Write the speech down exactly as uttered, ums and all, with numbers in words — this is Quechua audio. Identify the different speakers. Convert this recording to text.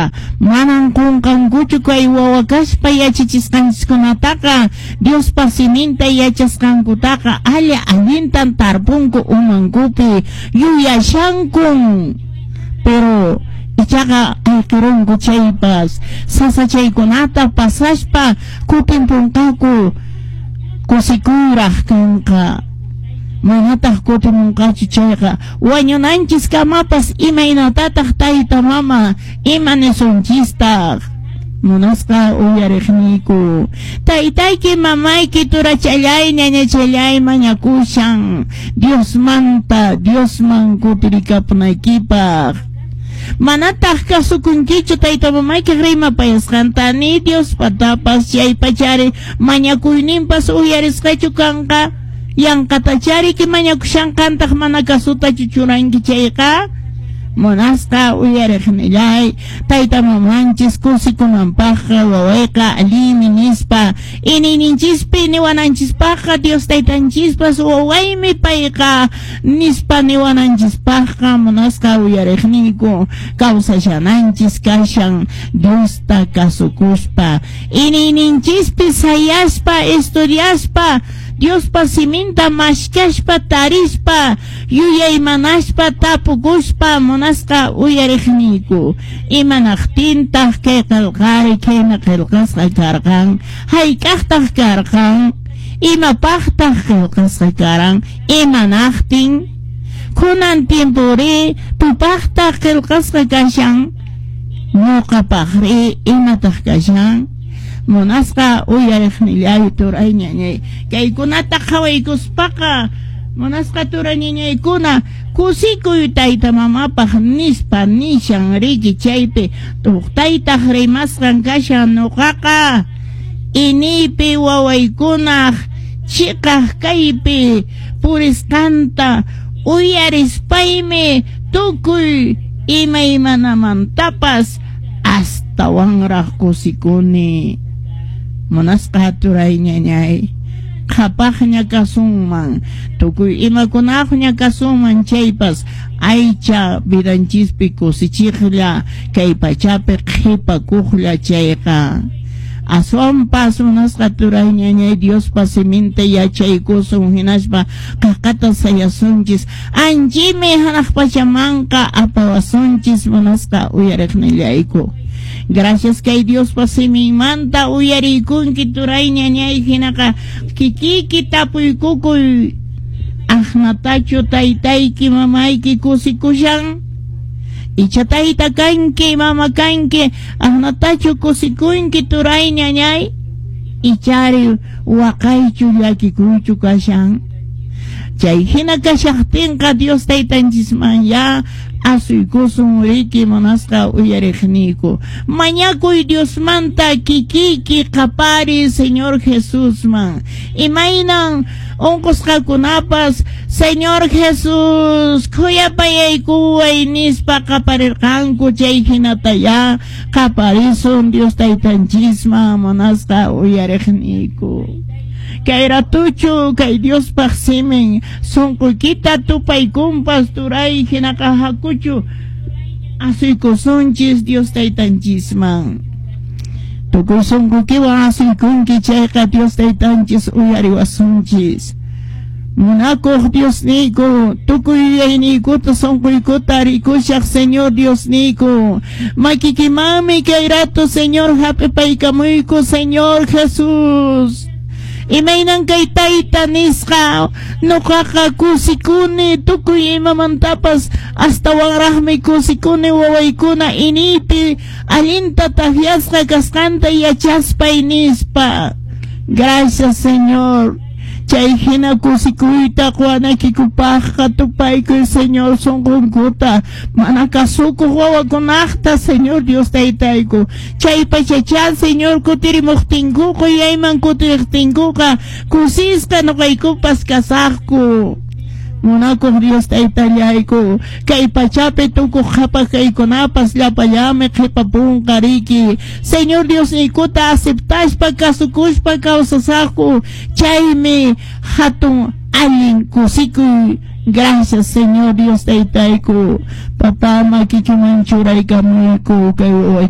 Speaker 1: Chayqa manan qunqankuchu kay wawa kaspa yachachisqanchiskunataqa, Diospa siminta yachasqankutaqa alla allintan tarpunku umankupi, yuyashankun. Pero ichaqa ayqirunku chaypas, sasachaykunata pasaspa kutimpunqaku, kusikuyraq kanqa. Manataq kutimunqachu chayqa wañunanchis kamapas imaynatataq tayta mama ima nisunchistaq. Munasqa uyariqniyku, taytayki mamayki turachallay ñañachallay mañakushan Diosmanta Diosman kutirikapunaykipaq. Manataq kasukunkichu tayta mamaykiq rimapayasqanta ni Diospatapas, chaypachari mañakuyninpas uyarisqachu kanqa. Yanqatachariki mañakushanqantaq mana kasutachu churanki chayqa. Munasqa uyariqnillay, tayta mamanchis kusikunanpaqqa wawayqa allinmi nispa iniyninchispi niwananchispaqqa Dios taytanchispas wawaymi payqa nispa niwananchispaqqa munasqa uyariqniyku kawsashananchis kashan Diosta kasukuspa iniyninchispi sayaspa estudiaspa Diospa siminta mashkashpa tarispa yuyaymanaspa tapukuspa munasqa uyariqniyku. Imanaqtintaq kay qillqari khayna qillqasqa karqan, hayk'aqtaq karqan, imapaqtaq qillqasqa karan, imanaqtin kunan tiempori tupaqtaq qillqasqa kashan, ñuqapaqri imataq kashan. Munasqa uyariqnillay turay ñañay, kaykunata qhawaykuspaqa munasqa turay ñañaykuna kusikuy tayta mamapaq nispa nishan riki chaypi tuqtaytaq rimasqan kashan nuqaqa iniypi wawaykunaq chiqaq kaypi purisqanta uyarispaymi tukuy imaymanamantapas astawanraq kusikuni. Munasqa turay ñañay, qhapaqña kasunman, tukuy imakunaqña kasunman chaypas aycha vidanchispi kusichiqlla kay pachapi qhipakuqlla chayqa. Aswanpas munasqa turay ñañay Diospa siminta yachaykusun hinaspa qaqata sayasunchis anchimi hanaq pachamanqa apawasunchis munasqa uyariqnillayku. Gracias kay Diospa siminmanta uyariykunki turay ñañay hinaqa kikiki tapuykukuy aqnatachu taytayki mamayki kusikushan, icha tayta kanki mama kanki aqnatachu kusikunki turay ñañay, ichari waqaychu llakikuychu kashan. Chay hina kashaqtinqa Dios taytanchisman ya asuykusun riki munasqa uyariqniyku. Mañakuy Diosmanta kikiki qapari Señor Jesusman. Imaynan unqusqakunapas Señor Jesús khuyapayaykuway nispa qaparirqanku chay hinata ya qaparisun Dios taytanchisman munasqa uyariqniyku. Kay ratuchu kay Diospaq simin sunquykita tupaykunpas turay hinaqa hakuchu asuykusunchis Dios taytanchisman. Tukuy sunquykiwan asuykunki chayqa Dios taytanchis uyariwasunchis. Munakuq Diosniyku, tukuy yuyayniykuta sunquykuta rikushaq Señor Diosniyku. Makikimanmi kay rato Señor hap'ipaykamuyku Señor Jesús. Imaynan kay tayta nisqa nuqaqa kusikuni tukuy imamantapas astawanraqmi kusikuni wawaykuna iniypi allinta takyasqa kasqanta yachaspay nispa. Gracias Señor. Chay hina kusikuyta quwanaykikupaqqa tupaykuy Señor sunqunkuta mana kasukuq wawakunaqta Señor Dios taytayku. Chay pachachá Señor kutirimuqtinkuqa yayman kutiriqtinkuqa kusisqa nuqaykupas kasaqku. Munakuq Dios taytallayku kay pachapi tukuq qhapaq kaykunapas llapallami qhipapunqa riki. Señor Diosniykuta aceptaspa kasukuspa kawsasaqku chaymi hatun allin kusikuy. Gracias Señor Dios taytayku. Papá makikiman churaykamuyku kay